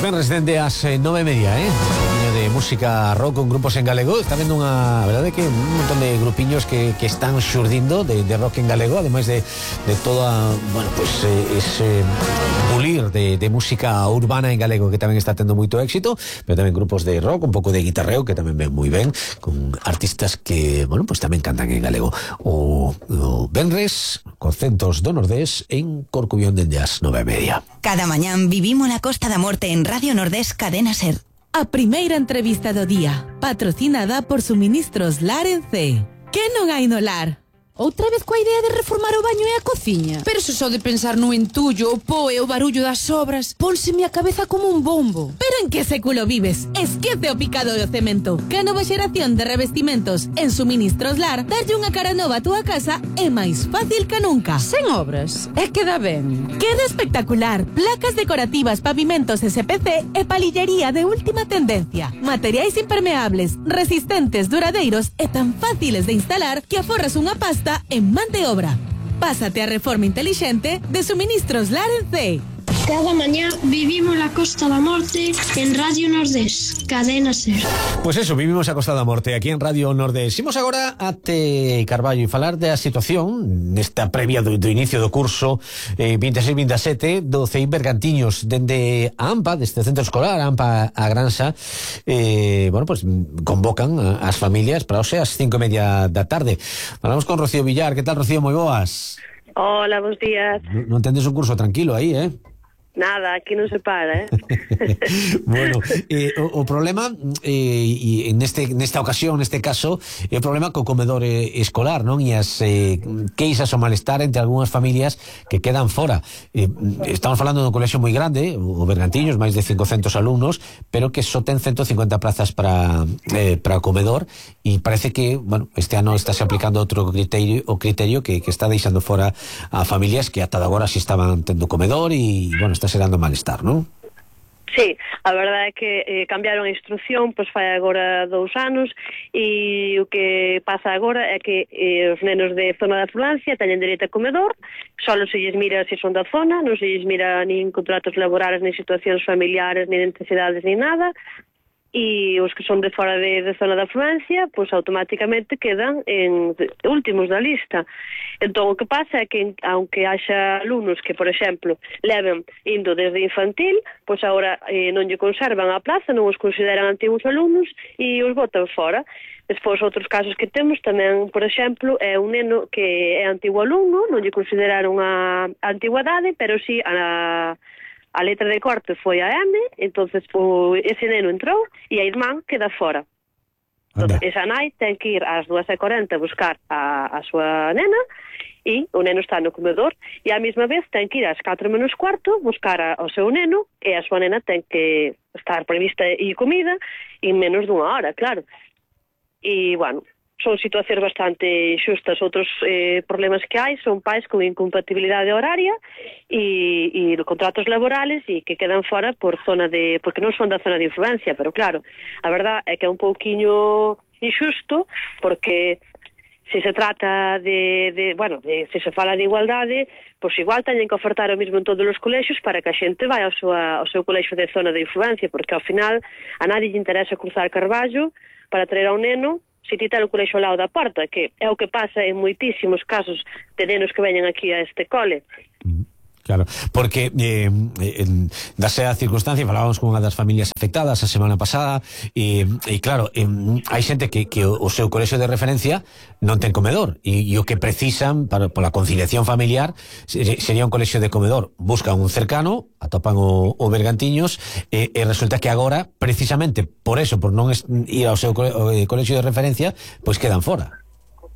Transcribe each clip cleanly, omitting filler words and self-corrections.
venres dende as 9:30, de música rock con grupos en galego. Está vendo unha, a verdade que un montón de grupiños que están xurdindo de rock en galego, ademais de toda, bueno, pues ese pulir de música urbana en galego que tamén está tendo moito éxito, pero tamén grupos de rock, un pouco de guitarreo que tamén ven moi ben, con artistas que, bueno, pues tamén cantan en galego. O venres, Concentos do Nordés en Corcubión dende as 9:30. Cada mañán vivimos la Costa da Morte en Radio Nordés Cadena Ser. A primeira entrevista do día, patrocinada por Suministros Lar en C. Que non hai no lar? Outra vez coa idea de reformar o baño e a cociña? Pero se só de pensar no entullo, o po e o barullo das obras, pónseme a cabeza como un bombo. Pero en que século vives? Esquece o picado do cemento. Que a nova xeración de revestimentos en Suministros Lar darlle unha cara nova a túa casa é máis fácil que nunca. Sen obras, e queda ben. Queda espectacular. Placas decorativas, pavimentos SPC e palillería de última tendencia. Materiais impermeables, resistentes, duradeiros e tan fáciles de instalar que aforras unha pasta en man de obra. Pásate a reforma inteligente de Suministros Lar en C. Cada mañá vivimos la Costa da Morte en Radio Nordés, Cadena Ser. Pues eso, vivimos a Costa da Morte aquí en Radio Nordés. Imos agora até Carballo e falar da situación nesta previa do inicio do curso 26-27 do CEIP Bergantiños dende a AMPA, deste centro escolar, a AMPA a Granxa. Bueno, pues convocan as familias para hoxe ás 5:30 da tarde. Falamos con Rocío Villar. Que tal, Rocío? Moi boas. Hola, bons días. Non tendes un curso tranquilo aí, Nada, aquí non se para, Bueno, o problema e nesta ocasión, neste caso, é o problema co comedor escolar, non? E as queixas ou malestar entre algunhas familias que quedan fora. Estamos falando dun colexio moi grande, o Bergantiños, máis de 500 alumnos, pero que só ten 150 plazas para o comedor, e parece que, bueno, este ano estáse aplicando outro criterio que está deixando fora a familias que ata agora si estaban tendo comedor e, bueno, está serando malestar, non? Sí, a verdade é que cambiaron a instrucción, pois fai agora 2 anos, e o que pasa agora é que os nenos de zona de afluencia teñen dereito a comedor, só se lles mira se son da zona, non se lles mira nin contratos laborales, nin situacións familiares, nin necesidades, nin nada, e os que son de fora de zona de afluencia, pois automáticamente quedan en últimos da lista. Entón, o que pasa é que, aunque haxa alumnos que, por exemplo, leven indo desde infantil, pois agora non lle conservan a plaza, non os consideran antigos alumnos e os botan fora. Despois, outros casos que temos tamén, por exemplo, é un neno que é antigo alumno, non lle consideraron a antigüedade, pero sí a letra de corte foi a M, entonces ese neno entrou e a irmán queda fora. Entón, esa nai ten que ir ás 2:40 buscar a súa nena e o neno está no comedor e á mesma vez ten que ir ás 4:15 buscar ao seu neno e a súa nena ten que estar prevista e comida en menos dunha hora, claro. E, bueno, son situacións bastante xustas. Outros problemas que hai son pais con incompatibilidade horaria e contratos laborales e que quedan fora porque non son da zona de influencia, pero claro, a verdad é que é un pouquiño injusto porque se se trata se se fala de igualdade, pois igual teñen que ofertar o mesmo en todos os colexios para que a xente vai ao seu colexio de zona de influencia, porque ao final a nadie lle interesa cruzar Carballo para traer ao neno se ti ten o colexio ao lado da porta, que é o que pasa en moitísimos casos de nenos que veñen aquí a este cole. Claro, porque dase a circunstancia, falábamos con unha das familias afectadas a semana pasada e claro, hai xente que o seu colexio de referencia non ten comedor e o que precisan pola conciliación familiar sería un colexio de comedor. Buscan un cercano, atopan o Bergantiños e resulta que agora, precisamente por eso, por non ir ao seu colexio de referencia, pois quedan fora.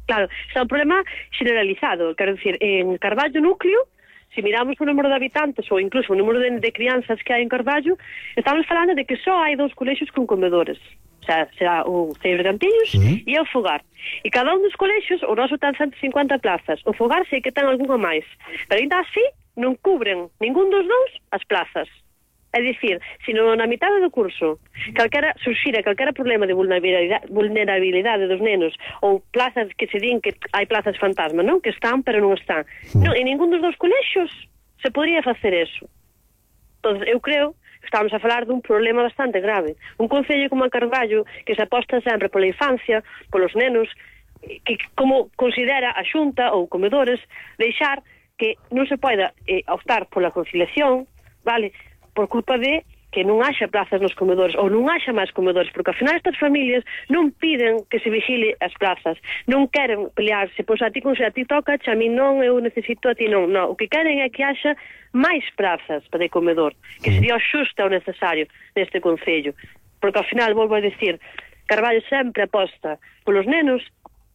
Claro, é un problema generalizado, quero dicir, en Carballo núcleo, se miramos o número de habitantes ou incluso o número de crianzas que hai en Carballo, estamos falando de que só hai 2 colexios con comedores. O sea, será o CEIP Bergantiños e o Fogar. E cada un dos colexios, o noso ten 150 plazas. O Fogar sei que ten algunha máis. Pero ainda así non cubren ningún dos dous as plazas. É dicir, se na mitade do curso surxira calquera problema de vulnerabilidade dos nenos ou plazas que se din que hai plazas fantasma, non? Que están, pero non están. Non, en ningún dos dous colexios se podría facer eso. Entón, eu creo estamos a falar dun problema bastante grave. Un concello como a Carballo, que se aposta sempre pola infancia, polos nenos, que como considera a Xunta ou comedores, deixar que non se poida optar pola conciliación, vale, por culpa de que non haxa plazas nos comedores ou non haxa máis comedores, porque ao final estas familias non piden que se vigile as plazas, non queren pelearse, pois a ti toca, a mí non, eu necesito, a ti non, o que queren é que haxa máis plazas para o comedor, que sería o xusto o necesario neste concello, porque ao final, volvo a decir, Carballo sempre aposta polos nenos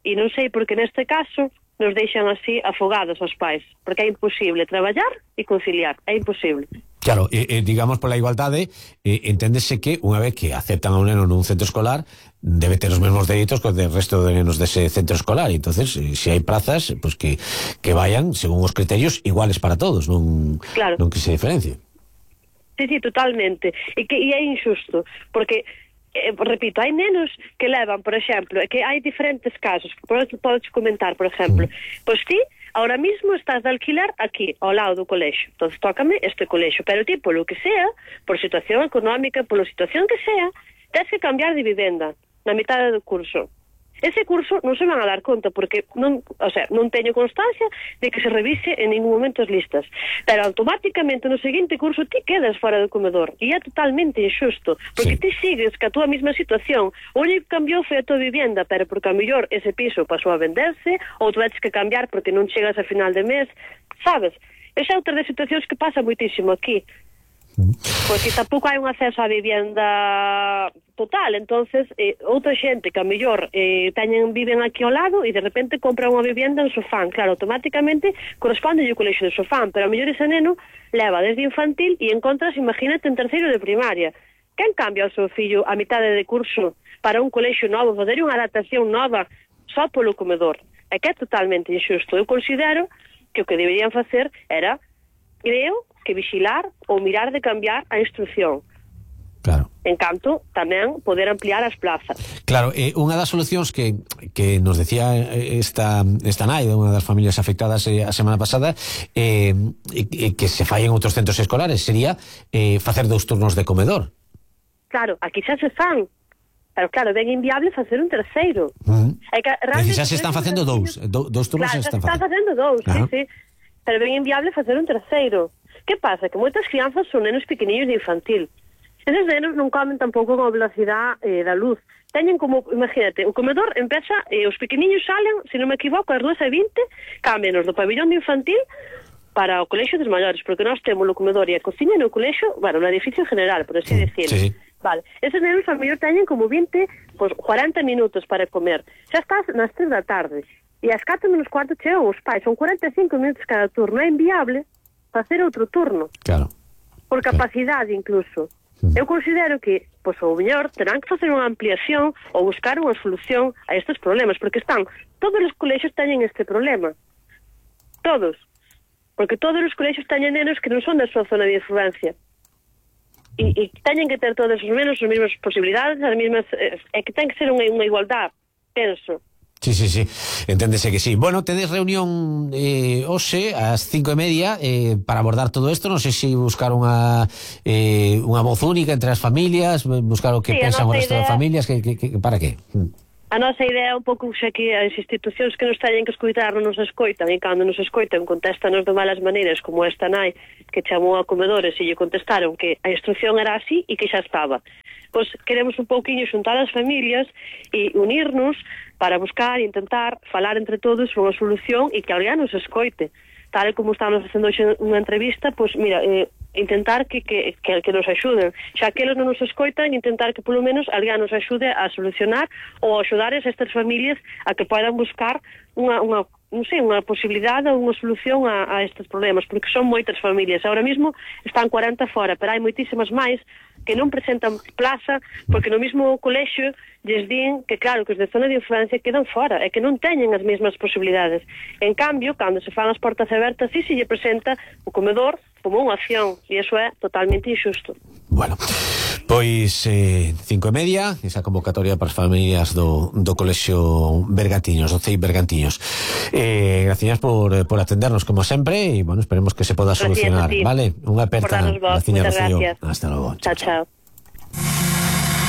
e non sei porque neste caso nos deixan así afogados aos pais, porque é imposible traballar e conciliar, é imposible. Claro, digamos, pola igualdade, enténdese que unha vez que aceptan a un neno nun centro escolar, debe ter os mesmos dereitos que o del resto de nenos dese centro escolar. Entonces, se hai plazas, pues que vayan según os criterios iguales para todos, non que se diferencie. Sí, totalmente. E é injusto, porque repito, hai nenos que levan, por exemplo, que hai diferentes casos, podes comentar, por exemplo, pois ti ahora mismo estás de alquiler aquí, ao lado do colexo, entonces tócame este colexo, pero ti, polo que sea, por situación económica, pola situación que sea, tens que cambiar de vivenda na mitad do curso. Ese curso non se van a dar conta porque non teño constancia de que se revise en ningún momento as listas, pero automáticamente no seguinte curso ti quedas fora do comedor e é totalmente injusto, porque ti sigues ca túa mesma situación. O único que cambiou foi a tua vivienda, pero porque a mellor ese piso pasou a venderse ou tu vedes que cambiar porque non chegas a final de mes, sabes? Esa é outra das situacións que pasa moitísimo aquí, porque tampouco hai un acceso á vivienda total, entonces outra xente que a mellor viven aquí ao lado e de repente compra unha vivienda en Sofán, claro, automáticamente corresponde o colexo de Sofán, pero a mellor ese neno leva desde infantil e encontras, imagínate, en terceiro de primaria. Quen cambia o seu fillo a mitade de curso para un colexo novo, fazer unha adaptación nova só polo comedor? É que é totalmente injusto. Eu considero que o que deberían facer era, creo, que vixilar ou mirar de cambiar a instrucción. Claro. En canto, tamén poder ampliar as plazas. Claro, unha das solucións que nos decía esta nai, unha das familias afectadas a semana pasada, que se fai en outros centros escolares, sería facer 2 turnos de comedor. Claro, aquí xa se fan. Pero claro, ben inviable facer un terceiro. É que xa se están facendo 2 turnos. Claro, se están facendo 2, sí. Pero ben inviable facer un terceiro. Que pasa? Que moitas crianzas son nenos pequeniños de infantil. Eses nenos non comen tampouco con a velocidade da luz. Teñen como, imagínate, o comedor empeza, os pequeniños salen, se non me equivoco, ás 2:20, cámbianos do pabillón de infantil para o colexo dos maiores, porque nós temos o comedor e a cociña no colexo, bueno, no edificio general, por así decirlo. Sí. Vale, eses nenos a mellor teñen como 20, pues 40 minutos para comer. Xa estás nas 3 da tarde. E ás 4:15 chegan os pais, son 45 minutos cada turno, é inviable facer outro turno. Claro. Por capacidade incluso. Eu considero que, pois, o mellor terán que facer unha ampliación ou buscar unha solución a estes problemas, porque todos os colexios teñen este problema. Todos. Porque todos os colexios teñen nenos que non son da súa zona de influencia. E teñen que ter todos os menos as mesmas posibilidades, as mesmas, é que ten que ser unha igualdade, penso. Sí, enténdese que sí. Bueno, tedes reunión hoxe ás 5:30 para abordar todo isto. Non sei se buscar unha voz única entre as familias, buscar o que pensan o resto das familias, para que? A nosa idea é un pouco xa que as institucións que nos teñen que escoitar non nos escoitan, e cando nos escoitan contéstanos de malas maneiras, como esta nai que chamou a comedores e lle contestaron que a instrucción era así e que xa estaba. Pois queremos un pouquiño xuntar as familias e unirnos para buscar e intentar falar entre todos unha solución e que alguén nos escoite. Tal como estamos facendo unha entrevista, pois mira, intentar que nos axuden. Xa que eles non nos escoitan, intentar que polo menos alguén nos axude a solucionar ou a axudar a estas familias a que podan buscar unha posibilidade ou unha solución a estes problemas, porque son moitas familias. Ahora mismo están 40 fora, pero hai moitísimas máis que non presentan plaza, porque no mesmo colexio lles din que claro, que os de zona de influencia quedan fora, e que non teñen as mesmas posibilidades. En cambio, cando se fan as portas abertas, sí se lle presenta o comedor como unha opción, e iso é totalmente injusto. Bueno, Pois 5:30, esa convocatoria para as familias do Colexio Bergantiños, do CEI Bergantiños. Gracias por atendernos como sempre e, bueno, esperemos que se poda solucionar, vale? Unha aperta. Gracias. Hasta logo. Chao.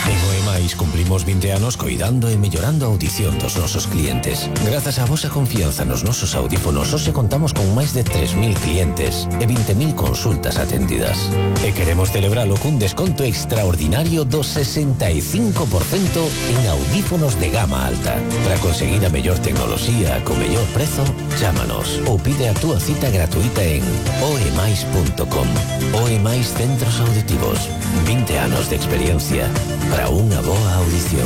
En OEMAIS cumplimos 20 anos coidando e mellorando a audición dos nosos clientes. Grazas á vosa confianza nos nosos audífonos, hoxe contamos con máis de 3.000 clientes e 20.000 consultas atendidas. E queremos celebralo cun desconto extraordinario do 65% en audífonos de gama alta. Para conseguir a mellor tecnoloxía co mellor prezo, chámanos ou pide a túa cita gratuita en oemais.com. OEMAIS Centros Auditivos. 20 anos de experiencia para unha boa audición.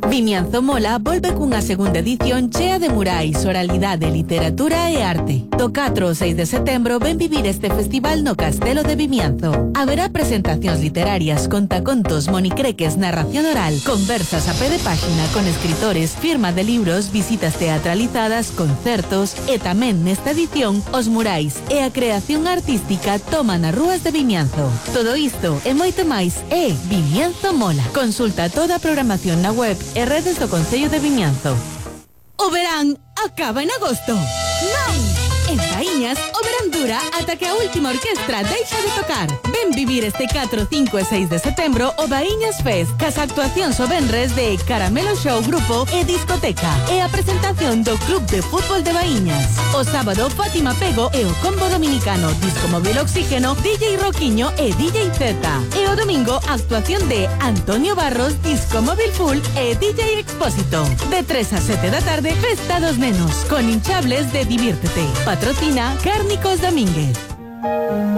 Vimianzo Mola volve cunha segunda edición chea de murais, oralidade, literatura e arte. Do 4 ao 6 de setembro ven vivir este festival no Castelo de Vimianzo. Haberá presentacións literarias, contacontos, monicreques, narración oral, conversas a pé de páxina con escritores, firma de libros, visitas teatralizadas, concertos e tamén nesta edición os murais e a creación artística toman as rúas de Vimianzo. Todo isto e moito máis é Vimianzo Mola. Consulta toda a programación na web e redes do Concello de Vimianzo. O verán acaba en agosto. Non! En Baíñas, o verán dura ata que a última orquestra deixa de tocar. Ven vivir este 4, 5 e 6 de setembro o Baíñas Fest, cas actuacións o venres de Caramelo Show Grupo e Discoteca e a presentación do Club de Fútbol de Baíñas. O sábado, Fátima Pego e o combo dominicano Disco Móvil Oxígeno, DJ Roquiño e DJ Z. E o domingo, actuación de Antonio Barros, Disco Móvil Full e DJ Expósito. De 3 a 7 da tarde, Festa dos Nenos, con hinchables de Diviértete. Patrocina Cárnicos Domínguez.